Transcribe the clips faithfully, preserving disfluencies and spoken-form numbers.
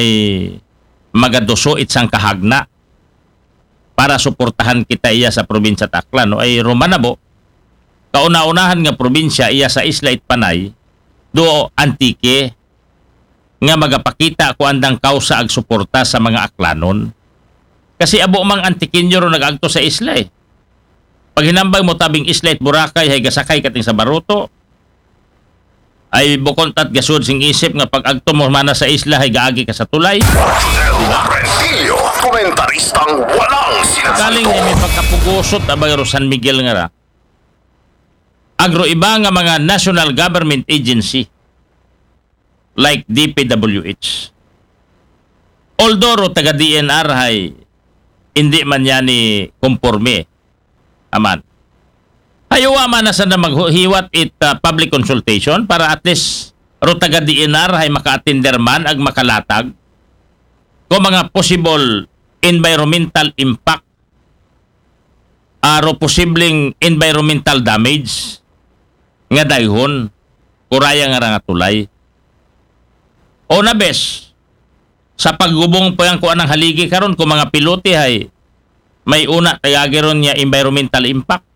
ay magaduso it sangkahagna para suportahan kita iya sa probinsya ta Aklan, no? Ay rumanabo, kauna-unahan nga probinsya iya sa isla it Panay, do Antique, nga magapakita ko andang kausa ag suporta sa mga Aklanon. Kasi abo mang Antiqueño ro nag-agto sa isla eh. Paghinambag mo tabing isla it Boracay, hay gasakay kating sa baruto. Ay bukon tat gasud sing isip nga pag-agto mo mana sa isla, hay gaagi ka sa tulay. Marcel Rentillo, komentaristang walang Kaling sinasagot. Ay may pagkapugusot abay ro San Miguel nga ra. Agro iba nga mga national government agency like D P W H. Although ro taga D N R hay hindi man yan ni konforme. Aman. Hay uwa man na sana maghiwat it uh, public consultation para at least ro taga D N R hay maka-attender man ag makalatag ko mga possible environmental impact aro posibleng environmental damage nga dayhon kuraya nga ra nga tulay. O na bes, sa paggubong pa yan ko anang haligi karon ko mga pilote hay may una tagagi ron nga environmental impact,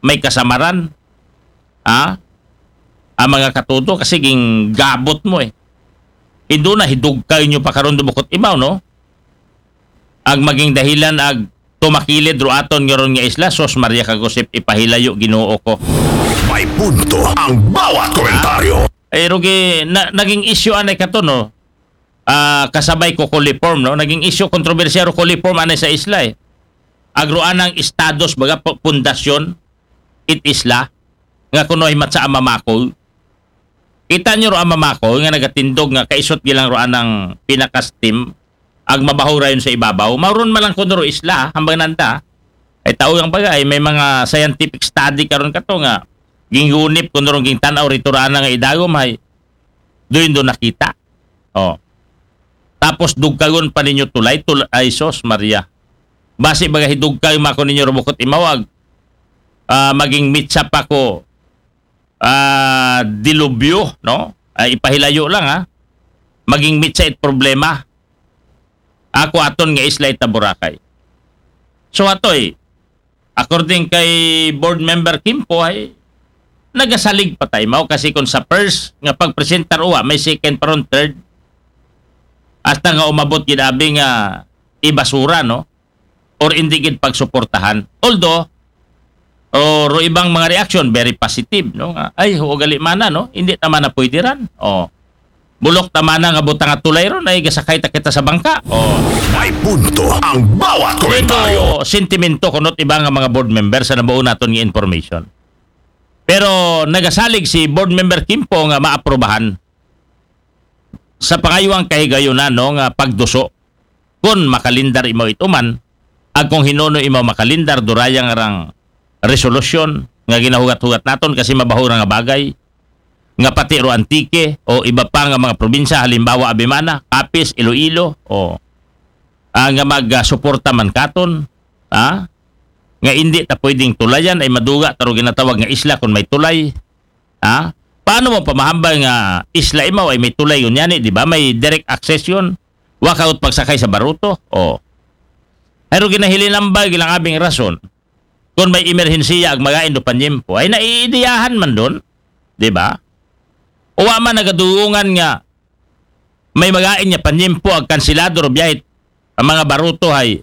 may kasamaran. Ha? Ang mga katuto kasi ging gabot mo eh. Indo na hidugkay nyo pa karon dubukot imaw, no? Ag maging dahilan ag tumakilid ro aton nga ron nga isla, sos Maria Kagusip, ipahilayo Ginoo ko. May punto ang bawat komentaryo. Ay rugi na, naging issue anay kato, no? Ah, kasabay ko coliform, no? Naging issue kontrobersiya ro coliform anay sa isla eh. Agro anang estados baga pu- pundasyon it isla nga kuno himat sa amamakol. Kita nyo ro amamakol nga nagatindog nga kaisot gilang ro anang pinakas team ag mabaho rayon sa ibabaw. Mauron man lang kuno ro isla hambang nanda. Ay tao ang bagay may mga scientific study karon kato nga gingunip kuno ro ging tan-aw rito ra ana nga idagom hay doon do nakita. Oh. Tapos dugkagon pa ninyo tulay, tulay ay sos Maria. Basi baga hidugkay mako ninyo rubukot imawag. Ah, maging mitsa pa ko ah, dilubyo, no? Ay ipahilayo lang ha. Maging mitsa it problema. Ako aton nga isla ita Boracay. So atoy, according kay board member Kimpo ay nagasalig pa tayo mao kasi kung sa first nga pagpresentar uwa may second pa ron third hasta nga umabot gid abi nga ibasura no or hindi gid pagsuportahan. Although o ro ibang mga reaction very positive no nga ay huo gali mana no hindi ta mana pwede ran. Oh. Bulok ta mana nga butang at tulay ron ay gasakay ta kita sa bangka. Oh. May punto ang bawat komentaryo. Ito sentimento kunot iba nga mga board member sa nabuo naton nga information. Pero nagasalig si board member Kimpo nga maaprobahan sa pangayuang kahigayunan no nga pagduso kun makalindar imaw ituman ag kung hinuno imaw makalindar durayang rang resolusyon nga ginahugat-hugat naton kasi mabaho ra nga bagay nga pati ro Antique o iba pa nga mga probinsya halimbawa Abimana, Capiz, Iloilo o ah, nga magsuporta man katon ha nga indi ta pwedeng tulayan ay maduga ta ro ginatawag nga isla kun may tulay ha paano mo pamahambal nga isla imaw ay may tulay unyani di ba may direct access yun wakaut pagsakay sa baruto o pero ginahilinambal gilang abing rason kun may emerhensiya ag magain do panyempo ay naiidiyahan man don di ba uwa man nagadulungan nga may magain nga panyempo ag kansilado ro biyahe ang mga baruto hay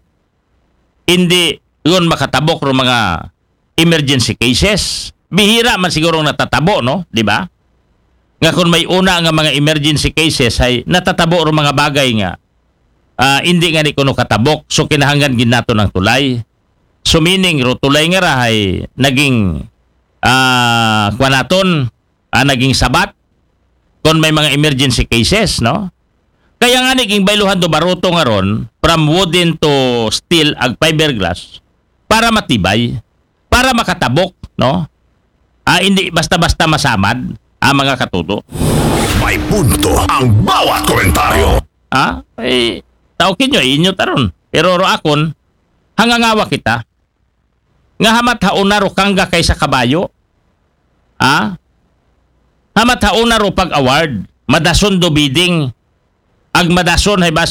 hindi yun makatabok ro mga emergency cases. Bihira man siguro natatabo, no? Di ba? Nga kung may una nga mga emergency cases ay natatabo ro mga bagay nga ah, hindi nga ni kuno katabok. So kinahanglan gid naton ang tulay. So meaning ro tulay nga ra ay naging ah, kuwan naton ah, naging sabat kung may mga emergency cases, no? Kaya nga ni ging bayluhan do baruto nga ron from wooden to steel ag fiberglass para matibay, para makatabok, no? Ah, hindi basta-basta masamad ang mga katuto. May punto ang bawat komentaryo. Ah, eh, tao kinyo, inyo taron. Pero ro akon, hangangawa kita. Nga hamat hauna ro kangga kaysa kabayo. Ah? Hamat hauna ro pag-award. Madason do bidding. Ag madason hay basi